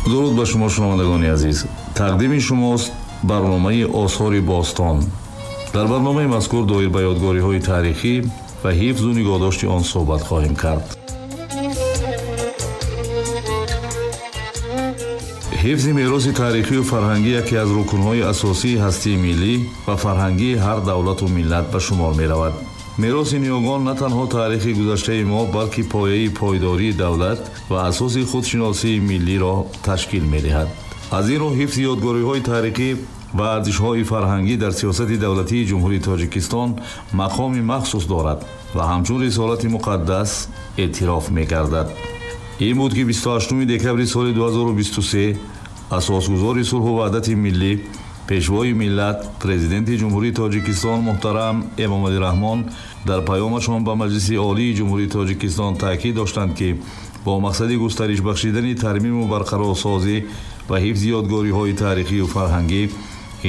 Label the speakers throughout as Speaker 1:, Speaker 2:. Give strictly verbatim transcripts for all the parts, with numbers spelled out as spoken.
Speaker 1: Дуруд ба шумо, шунавандагони азиз. Тақдими шумост барномаи Осори бостон. Дар барномаи мазкур доир ба ёдгориҳои таърихӣ ва ҳифзу нигоҳдошти он суҳбат хоҳем кард. Ҳифзи мероси таърихию фарҳангӣ яке аз рукнҳои асосии ҳастии миллӣ ва фарҳангии ҳар давлату миллат ба шумор меравад. Мероси ниёгон на танҳо таърихи гузаштаи мо, балки пояи пойдории давлат ва асоси худшиносии миллиро ташкил медиҳад. Аз ин рӯ ҳифзи ёдгориҳои таърихӣ ва арзишҳои фарҳангӣ дар сиёсати давлатии Ҷумҳурии Тоҷикистон мақоми махсус дорад ва ҳамчун рисолати муқаддас эътироф мегардад. Ин буд, ки бисту ҳаштуми декабри соли ду ҳазору бисту се асосгузори сулҳу ваҳдати миллӣ, пешвои миллат, президенти Ҷумҳурии Тоҷикистон муҳтарам Эмомалӣ Раҳмон дар паёмашон ба Маҷлиси Олии Ҷумҳурии Тоҷикистон таъкид доштанд, ки бо мақсади густариш бахшидани тармиму барқарорсозӣ ва ҳифзи ёдгориҳои таърихию фарҳангӣ,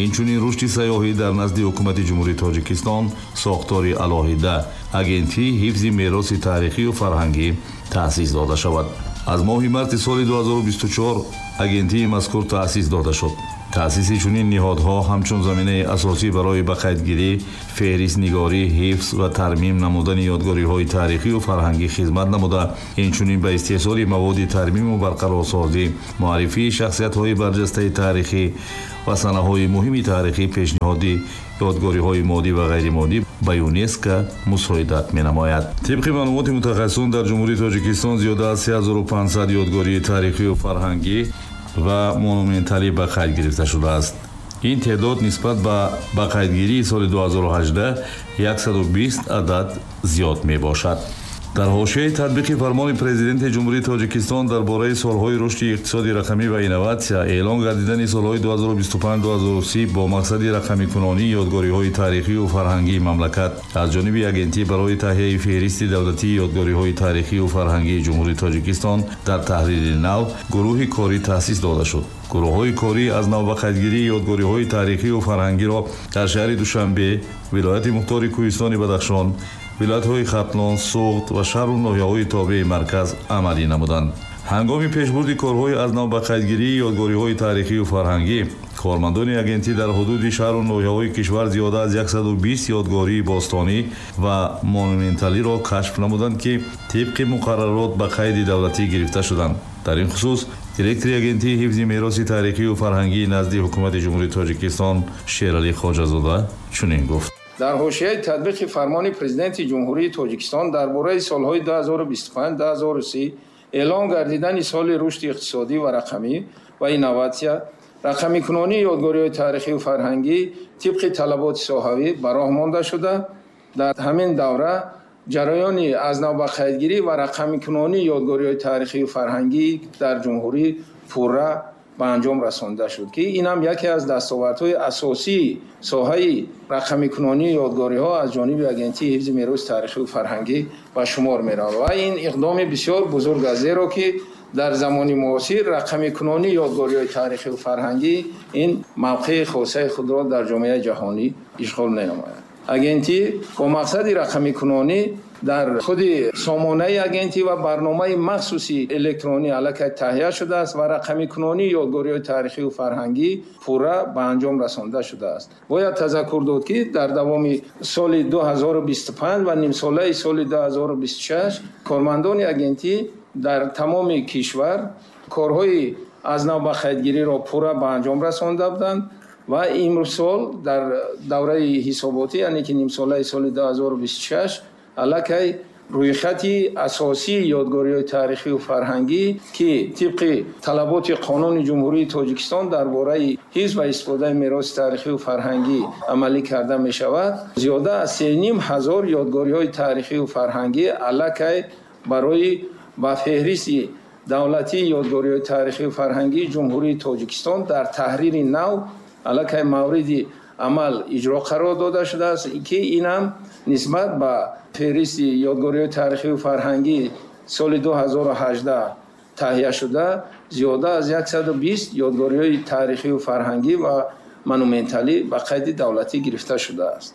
Speaker 1: инчунин рушди сайёҳӣ дар назди Ҳукумати Ҷумҳурии Тоҷикистон сохтори алоҳида Агентии ҳифзи мероси таърихию фарҳангӣ таъсис дода шавад. Аз моҳи марти соли ду ҳазору бисту чор агентии мазкур таъсис дода шуд. Таъсиси чунин ниҳодҳо ҳамчун заминаи асосӣ барои ба қайдгирӣ, феҳристнигорӣ, ҳифз ва тармим намудани ёдгориҳои таърихию фарҳангӣ хизмат намуда, инчунин ба истеҳсоли маводи тармиму барқарорсозӣ, муаррифии шахсиятҳои барҷастаи таърихӣ ва санаҳои муҳими таърихӣ, пешниҳоди ёдгориҳои моддӣ ва ғайримоддӣ ба ЮНЕСКО мусоидат менамояд. Тибқи маълумоти мутахассисон, дар Ҷумҳурии Тоҷикистон зиёда аз се ҳазору панҷсад ёдгории таърихию фарҳангӣ ва монументалӣ ба қайд гирифта шудааст. Ин теъдод нисбат ба ба қайдгирии соли ду ҳазору ҳаждаҳ яксаду бист адад зиёд мебошад. Дар ҳошияи татбиқи фармони Президенти Ҷумҳурии Тоҷикистон дар бораи солҳои рушди иқтисоди рақамӣ ва инноватсия эълон гардидани солҳои ду ҳазору бисту панҷ ду ҳазору си бо мақсади рақамикунонии ёдгориҳои таърихию фарҳангии мамлакат аз ҷониби агентӣ барои таҳияи феҳристи давлатии ёдгориҳои таърихию фарҳангии Ҷумҳурии Тоҷикистон дар таҳрири нав гурӯҳи корӣ таъсис дода шуд. Гурӯҳҳои корӣ аз нав ба қайдгирии ёдгориҳои таърихию фарҳангиро дар шаҳри Душанбе, вилояти мухтори Кӯҳистони Бадахшон, вилоятҳои Хатлон, Суғд ва шаҳру ноҳияҳои тобеи марказ амалӣ намуданд. Ҳангоми пешбурди корҳои аз нав ба қайдгирии ёдгориҳои таърихию фарҳангӣ, кормандони агентӣ дар ҳудуди шаҳру ноҳияҳои кишвар зиёда аз яксаду бист ёдгории бостонӣ ва монументалиро кашф намуданд, ки тибқи муқаррарот ба қайди давлатӣ гирифта шуданд. Дар ин хусус директори агентии ҳифзи мероси таърихию фарҳангии назди Ҳукумати Ҷумҳурии Тоҷикистон Шералӣ Хоҷазода чунин гуфт.
Speaker 2: Дар ҳошияи татбиқи фармони Президенти Ҷумҳурии Тоҷикистон дар бораи солҳои ду ҳазору бисту панҷ ду ҳазору си эълон гардидани соли рушди иқтисодӣ ва рақамӣ ва инноватсия, рақамикунонии ёдгориҳои таърихию фарҳангӣ тибқи талаботи соҳавӣ ба роҳ монда шуда, дар ҳамин давра ҷараёни аз нав ба қайдгирӣ ва рақамикунонии ёдгориҳои таърихию фарҳангӣ дар ҷумҳурӣ пурра ба анҷом расонда шуд, ки ин ҳам яке аз дастовардҳои асосии соҳаи рақамикунонии ёдгориҳо аз ҷониби агентии ҳифзи мероси таърихию фарҳангӣ ба шумор меравад. Ва ин иқдоми бисёр бузург аст, зеро ки дар замони муосир рақамикунонии ёдгориҳои таърихию фарҳангӣ ин мавқеи хосаи худро дар ҷомеаи ҷаҳонӣ ишғол менамояд. Агентӣ бо мақсади рақамикунонӣ дар худи сомонаи агентӣ ва барномаи махсуси электронӣ аллакай таҳия шудааст ва рақамикунонии ёдгориҳои таърихию фарҳангӣ пурра ба анҷом расонда шудааст. Бояд тазаккур дод, ки дар давоми соли ду ҳазору бисту панҷ ва нимсолаи соли ду ҳазору бисту шаш кормандони агентӣ дар тамоми кишвар корҳои аз нав ба қайдгириро пурра ба анҷом расонда буданд ва имсол дар давраи ҳисоботӣ, яъне ки нимсолаи соли ду ҳазору бисту шаш аллакай рӯйхати асосии ёдгориҳои таърихию фарҳангӣ, ки тибқи талаботи қонуни Ҷумҳурии Тоҷикистон дар бораи ҳифз ва истифодаи мероси таърихию фарҳангӣ амалӣ карда мешавад, зиёда аз се ним ҳазор ёдгориҳои таърихию фарҳангӣ аллакай барои ба феҳристи давлатии ёдгориҳои таърихию фарҳангии Ҷумҳурии Тоҷикистон дар таҳрири нав аллакай мавриди амал иҷро қарор дода шудааст, ки ин ҳам нисбат ба феҳристи ёдгориҳои таърихию фарҳангӣ соли ду ҳазору ҳаждаҳ таҳия шуда зиёда аз яксаду бист ёдгориҳои таърихию фарҳангӣ ва монументалӣ ба қайди давлатӣ гирифта шудааст.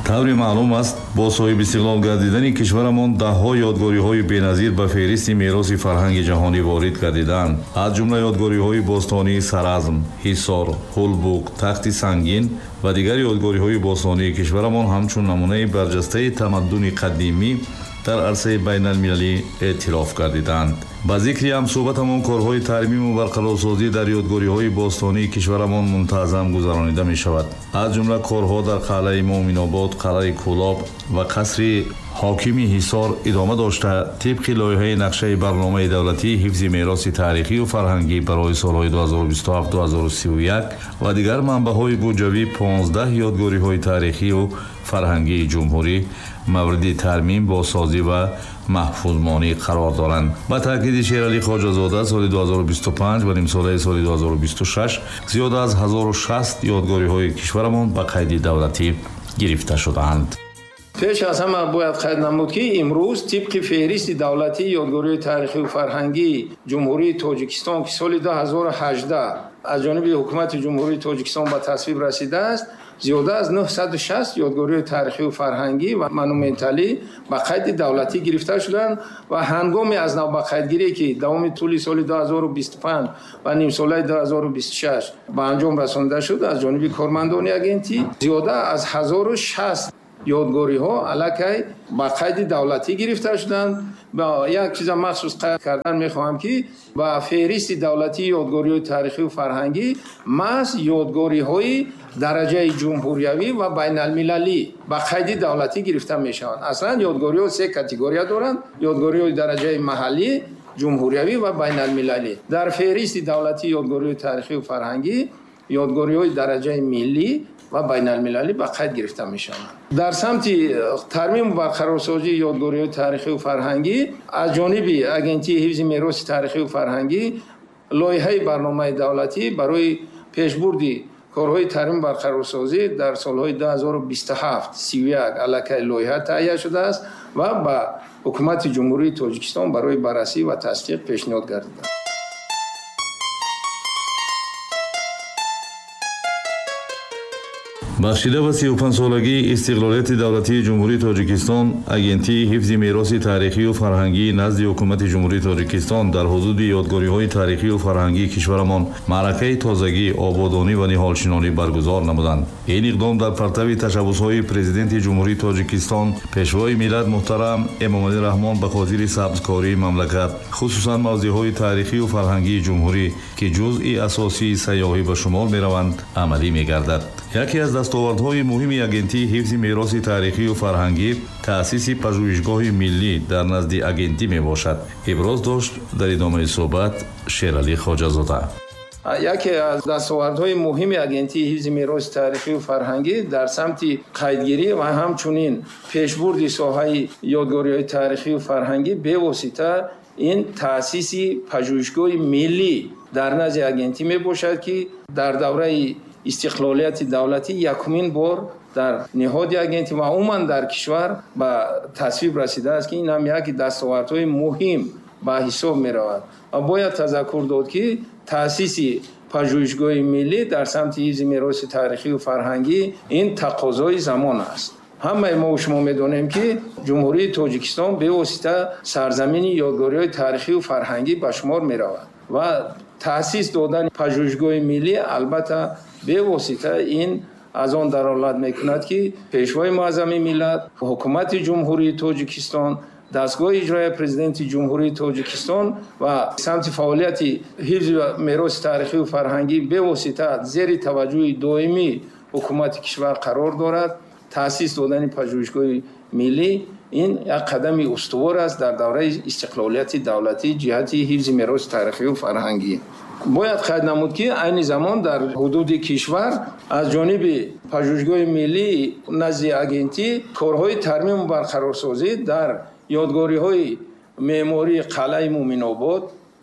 Speaker 1: Тавре маълум аст, бо соҳиби истиқлол гардидани кишварамон даҳҳо ёдгориҳои беназир ба феҳристи мероси фарҳанги ҷаҳонӣ ворид гардиданд. Аз ҷумла ёдгориҳои бостонии Саразм, Ҳисор, Ҳулбук, Тахти Сангин ва дигар ёдгориҳои бостонии кишварамон ҳамчун намунаи барҷастаи тамаддуни қадимӣ дар арсаи байналмилалӣ эътироф гардиданд. Ба зикри ҳамсӯҳбатамон корҳои тармиму барқарорсозӣ дар ёдгориҳои бостонии кишварамон мунтазам гузаронида мешавад. Аз ҷумла корҳо дар қалъаи Муъминобод, қалъаи Кӯлоб ва қасри ҳокими Ҳисор идома дошта, тибқи лоиҳаи нақшаи барномаи давлатии ҳифзи мероси таърихию фарҳангӣ барои солҳои ду ҳазору бисту ҳафт ду ҳазору сию як ва дигар манбаъҳои буҷавӣ понздаҳ ёдгориҳои таърихию фарҳангии ҷумҳурӣ мавриди тармим, бозсозӣ ва маҳфузмонӣ қарор доранд. Ба таъкиди Шералӣ Хоҷазода, соли ду ҳазору бисту панҷ ва нимсолаи соли ду ҳазору бисту шаш зиёда аз ҳазору шаст ёдгориҳои кишварамон ба қайди давлатӣ гирифта шудаанд.
Speaker 2: Пеш аз ҳама бояд қайд намуд, ки имрӯз тибқи феҳристи давлатии ёдгориҳои таърихию фарҳангии Ҷумҳурии Тоҷикистон, ки соли ду ҳазору ҳаждаҳ аз ҷониби Ҳукумати Ҷумҳурии Тоҷикистон ба тасвиб расидааст, зиёда аз нӯҳсаду шаст ёдгориҳои таърихию фарҳангӣ ва монументалӣ ба қайди давлатӣ гирифта шуданд ва ҳангоми аз нав ба қайдгирӣ, ки давоми тӯли соли ду ҳазору бисту панҷ ва нимсолаи ду ҳазору бисту шаш ба анҷом расонида шуд, аз ҷониби кормандони агентӣ зиёда аз ҳазору шаст ёдгориҳо аллакай ба қайди давлатӣ гирифта шуданд. Як чиза махсус қайд кардан мехоҳам, ки ба феҳристи давлатии ёдгориҳои таърихию фарҳангӣ маҳз ёдгориҳои дараҷаи ҷумҳуриявӣ ва байналмилалӣ ба қайди давлатӣ гирифта мешаванд. Аслан ёдгориҳо се категория доранд: ёдгориҳои дараҷаи маҳаллӣ, ҷумҳуриявӣ ва байналмилалӣ. Дар феҳристи давлатии ёдгориҳои таърихию фарҳангӣ ёдгориҳои дараҷаи миллӣ ва байналмилалӣ ба қайд гирифта мешаванд. Дар самти тармиму барқарорсозии ёдгориҳои таърихию фарҳангӣ аз ҷониби Агентии ҳифзи мероси таърихию фарҳангӣ лоиҳаи барномаи давлатӣ барои пешбурди корҳои тармиму барқарорсозӣ дар солҳои ду ҳазору бисту ҳафт сию як аллакай лоиҳа таҳия шудааст ва ба Ҳукумати Ҷумҳурии Тоҷикистон барои баррасӣ ва тасдиқ пешниҳод гардидааст.
Speaker 1: Бахшида ба сию панҷсолагии истиқлолияти давлатии Ҷумҳурии Тоҷикистон, Агентии ҳифзи мероси таърихию фарҳангии назди Ҳукумати Ҷумҳурии Тоҷикистон дар ҳудуди ёдгориҳои таърихию фарҳангии кишварамон маъракаи тозагӣ, ободонӣ ва ниҳолшинонӣ баргузор намуданд. Ин иқдом дар партави ташаббусҳои Президенти Ҷумҳурии Тоҷикистон, Пешвои миллат муҳтарам Эмомалӣ Раҳмон ба хотири сабзкории мамлакат, хусусан мавзеъҳои таърихию фарҳангии ҷумҳурӣ, ки ҷузъи асосии сайёҳӣ ба шумор мераванд, амалӣ мегардад. Яке аз дастовардҳои муҳими Агентии ҳифзи мероси таърихию фарҳангӣ таъсиси пажӯҳишгоҳи миллӣ дар назди агентӣ мебошад. Иброз дошт дар идомаи суҳбат Шералӣ Хоҷазода.
Speaker 2: Яке аз дастовардҳои муҳими Агентии ҳифзи мероси таърихию фарҳангӣ дар самти қайдгирӣ ва ҳамчунин пешбурди соҳаи ёдгориҳои таърихию фарҳангӣ бевосита ин таъсиси пажӯҳишгоҳи миллӣ дар назди агентӣ мебошад, ки дар давраи истиқлолияти давлатӣ якумин бор дар ниҳоди агентӣ ва умуман дар кишвар ба тасвиб расидааст, ки ин ҳам яке дастовардҳои муҳим ба ҳисоб меравад. Ва бояд тазаккур дод, ки таъсиси пажӯҳишгоҳи миллӣ дар самти ҳифзи мероси таърихию фарҳангӣ ин тақозои замон аст. Ҳамаи мо шумо медонем, ки Ҷумҳурии Тоҷикистон бевосита сарзамини ёдгориҳои таърихию фарҳангӣ ба шумор меравад ва таъсис додани пажӯҳишгоҳи миллӣ албатта бевосита ин аз он далолат мекунад, ки Пешвои муаззами миллат, Ҳукумати Ҷумҳурии Тоҷикистон, дастгоҳи иҷроияи Президенти Ҷумҳурии Тоҷикистон ва самти фаъолияти ҳифзи мероси таърихию фарҳангӣ бевосита зери таваҷҷӯҳи доимии ҳукумати кишвар қарор дорад. Таъсис додани пажӯҳишгоҳи миллӣ ин як қадами устувор аст дар давраи истиқлолияти давлатӣ ҷиҳати ҳифзи мероси таърихию фарҳангӣ. Бояд қайд намуд, ки айни замон дар ҳудуди кишвар аз ҷониби пажӯҳишгоҳи миллӣ назди агентӣ корҳои тармиму барқарорсозӣ дар ёдгориҳои меъмории қалъаи Муъминобод,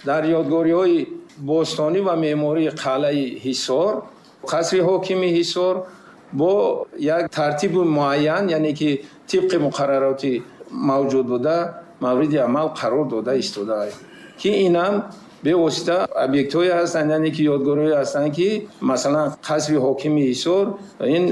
Speaker 2: дар ёдгориҳои бостонӣ ва меъмории қалъаи Ҳисор, қасри ҳокими Ҳисор бо як тартиби муайян, яъне ки тибқи муқаррароти мавҷуд буда мавриди амал қарор дода истодааст, ки инам Бевосита объектҳое ҳастанд, яъне ки ёдгориҳое ҳастанд, ки масалан қасри ҳокими Ҳисор, ин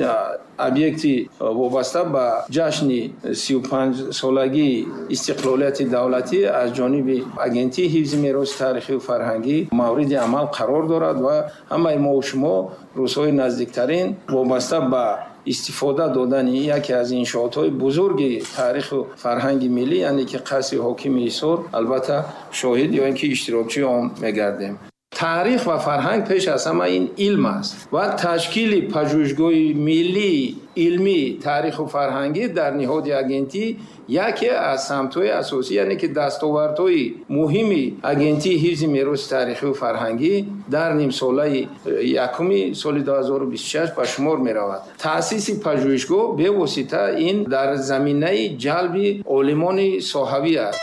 Speaker 2: объекти вобаста ба ҷашни сию панҷ солагии истиқлолияти давлатӣ аз ҷониби Агентии ҳифзи мероси таърихию фарҳангӣ мавриди амал қарор дорад ва ҳамаи мо шумо рӯзҳои наздиктарин вобаста ба истифода додани яке аз иншоотҳои бузурги таъриху фарҳанги миллӣ, яъне ки қасри ҳокими Ҳисор, албатта шоҳид ё ин ки иштирокчии он мегардем. Таърих ва фарҳанг пеш аз ҳама ин илм аст ва ташкили пажӯҳишгоҳи миллии илмии таъриху фарҳангӣ дар ниҳоди агентӣ яке аз самтҳои асосӣ, яъне ки дастовардҳои муҳими Агентии ҳифзи мероси таърихию фарҳангӣ дар нимсолаи якуми соли ду ҳазору бисту шаш ба шумор меравад. Таъсиси пажӯҳишгоҳ бевосита ин дар заминаи ҷалби олимони соҳавӣ аст.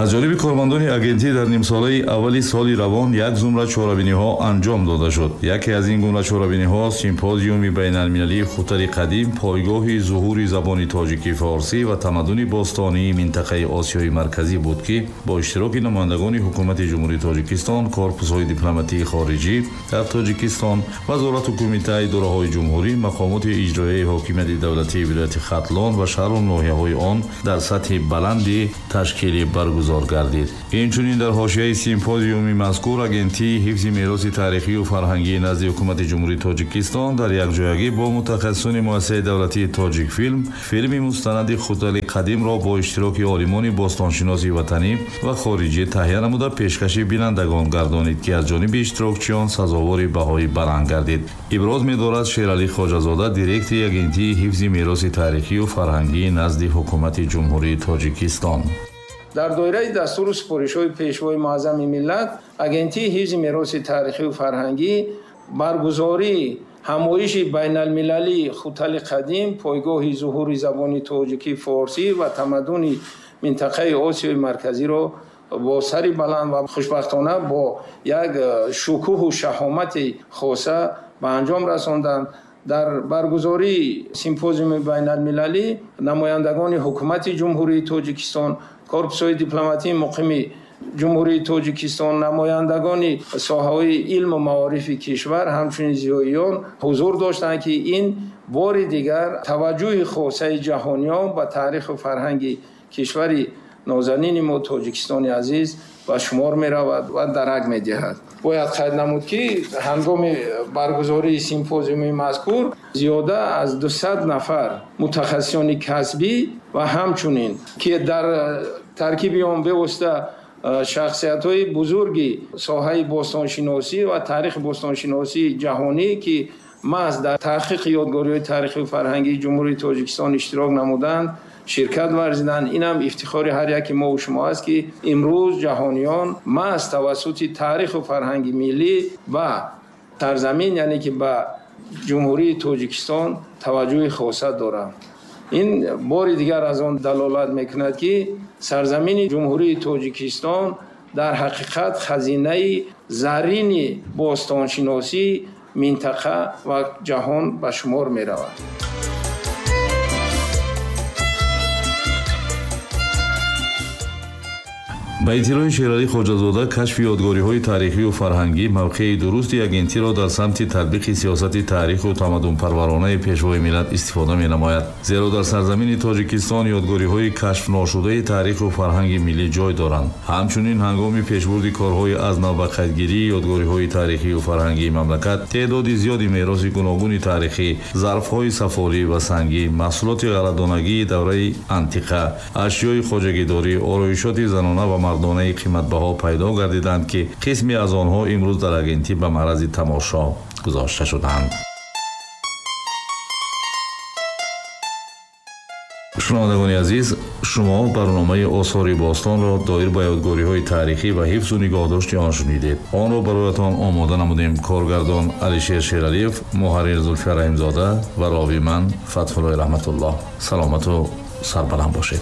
Speaker 1: Аз ҷониби кормандони агентӣ дар нимсолаи аввали соли равон як зумра чорабиниҳо анҷом дода шуд. Яке аз ин гуна чорабиниҳо симпозиуми байналмилалии Хутали қадим, пойгоҳи зуҳури забони тоҷикӣ форсӣ ва тамаддуни бостонии минтақаи Осиёи Марказӣ буд, ки бо иштироки намояндагони ҳукумати Ҷумҳурии Тоҷикистон, корпусҳои дипломатии хориҷӣ дар Тоҷикистон, вазорату кумитаи идораҳои ҷумҳурӣ, мақомоти иҷроияи ҳокимияти давлатии вилояти Хатлон ва шаҳру ноҳияҳои он дар сатҳи баланди ташкилӣ баргузор гардид. Инчунин дар ҳошияи симпозиуми мазкур Агентии ҳифзи мероси таърихию фарҳангии назди ҳукумати Ҷумҳурии Тоҷикистон дар якҷоягӣ бо мутахассисони муассисаи давлатии Тоҷикфилм филми мустанади Хутали қадимро бо иштироки олимони бостоншиноси ватанӣ ва хориҷӣ таҳия намуда пешкаши бинандагон гардонид, ки аз ҷониби иштирокчиён сазовори баҳои баланд гардид. Иброз медорад Шералӣ Хоҷазода, директори Агентии ҳифзи мероси таърихию фарҳангии назди ҳукумати Ҷумҳурии Тоҷикистон.
Speaker 2: Дар доираи дастуру супоришҳои Пешвои муаззами миллат, Агентии ҳифзи мероси таърихию фарҳангӣ баргузории ҳамоиши байналмилалии Хутали қадим, пойгоҳи зуҳури забони тоҷикӣ форсӣ ва тамаддуни минтақаи Осиёи Марказиро бо сари баланд ва хушбахтона бо як шукӯҳу шаҳомати хоса ба анҷом расонданд. Дар баргузории симпозиуми байналмилалӣ намояндагони ҳукумати Ҷумҳурии Тоҷикистон, корпусҳои дипломатии муқими Ҷумҳурии Тоҷикистон, намояндагони соҳаҳои илму маорифи кишвар, ҳамчунин зиёиён ҳузур доштанд, ки ин бори дигар таваҷҷӯҳи хосаи ҷаҳониён ба таъриху фарҳанги кишвари нозанини мо Тоҷикистони азиз ба шумор меравад ва дарак медиҳад. Бояд қайд намуд, ки ҳангоми баргузории симпозиуми мазкур зиёда аз дусад нафар мутахассисони касбӣ ва ҳамчунин ки дар таркиби он бевосита шахсиятҳои бузурги соҳаи бостоншиносӣ ва таърихи бостоншиносии ҷаҳонӣ, ки маҳз дар таҳқиқи ёдгориҳои таърихию фарҳангии Ҷумҳурии Тоҷикистон иштирок намуданд, ширкат варзиданд. Инам ифтихори ҳар яки мо ва шумо аст, ки имрӯз ҷаҳониён маҳз тавассути таъриху фарҳанги миллӣ ба сарзамин, яъне ки ба Ҷумҳурии Тоҷикистон таваҷҷӯҳи хоса доранд. Ин бори дигар аз он далолат мекунад, ки сарзамини Ҷумҳурии Тоҷикистон дар ҳақиқат хазинаи заррини бостоншиносии минтақа ва ҷаҳон ба шумор меравад.
Speaker 1: Ба иттилои Шералӣ Хоҷазода, кашфи ёдгориҳои таърихию фарҳангӣ мавқеи дурусти агентиро дар самти татбиқи сиёсати таъриху тамаддунпарваронаи Пешвои миллат истифода менамояд. Зеро дар сарзамини Тоҷикистон ёдгориҳои кашфношудаи таъриху фарҳанги миллӣ ҷой доранд. Ҳамчунин ҳангоми пешбурди корҳои аз нав ба қайдгирии ёдгориҳои таърихию фарҳангии мамлакат теъдоди зиёди мероси гуногуни таърихӣ, зарфҳои сафолӣ ва сангӣ, маҳсулоти ғалладонагии давраи антиқа, ашёи хоҷагидорӣ, ороишоти занона ва мардонаи қиматбаҳо пайдо гардиданд, ки қисме аз онҳо имрӯз дар агентӣ ба маърази тамошо гузошта шуданд. Шунавандагони азиз, шумо барномаи осори бостонро доир ба ёдгориҳои таърихӣ ва ҳифзу нигоҳдошти он шунидед. Онро бароятон омода намудем коргардон Алишер Шералиев, муҳаррир Зулфия Раҳимзода ва рови ман Фатҳуллои Раҳматуллоҳ. Саломату сарбаланд бошед.